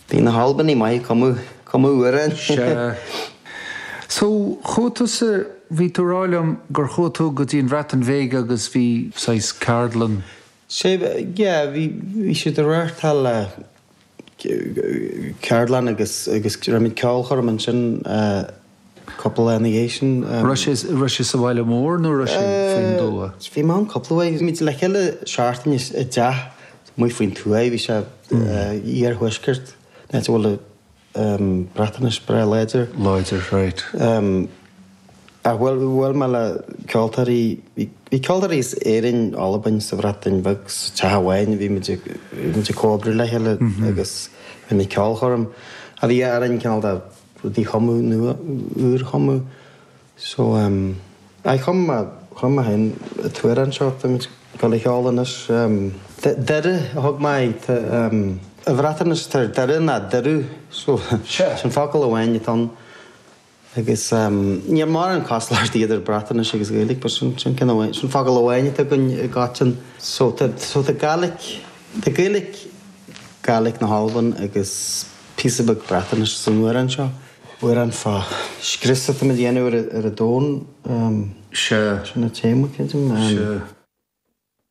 Bhí na hAlbanaigh maith ag cumadh, cumadh amhráin. Sea. So, chuaigh tusa, bhí tú ag rá liom gur chuaigh tú go dtí an Bhreatain Bheag agus bhí saghas ceardlann. Sea, yeah, bhí, bhí siad ag reáchtáil ceardlann agus, agus rinne muid ceolchoirm ansin cúpla lá ina dhiaidh sin. Raibh sé, raibh sé sa bhaile mór nó raibh sé faoin dtuath? Bhí mé ann cúpla uair. Bhí muid le chéile seachtain i dteach amuigh faoin tuath. Bhí sé iarthuaisceart, an áit a bhfuil an Breatnais breá láidir. Láidir, right. Ach bhuail, bhuail mé le ceoltóirí, bhí ceoltóirí as Éirinn, Albain, sa Bhreatain Bheag, sa teach amháin, bhí muid ag, bhí muid ag comhoibriú le chéile agus rinne muid ceolchoirm. A bhí orainn cineál de rudaí a chumadh nua, úr a chumadh. So em, aye chum mé, chum mé féin an t-amhrán seo tá muid ag dul a cheol anois. Em, Doire a thug mé air, tá em, i Bhreatnais tá Doire ná Dyrw, so sin focal amháin atá ann. Agus em, níl mórán cosúlachtaí idir Breatnais agus Gaeilge, but sin, sin ceann amháin, sin focal amháin atá againn i gcoiteann. So tá, so tá Gaelic, tá Gaeilge, Gaelic na hAlban agus píosa beag Breatnais san amhrán seo. Amhrán fá scrios atá muid a dhéanamh ar an domhan. Sea. Sin an téama, creidim. Sea.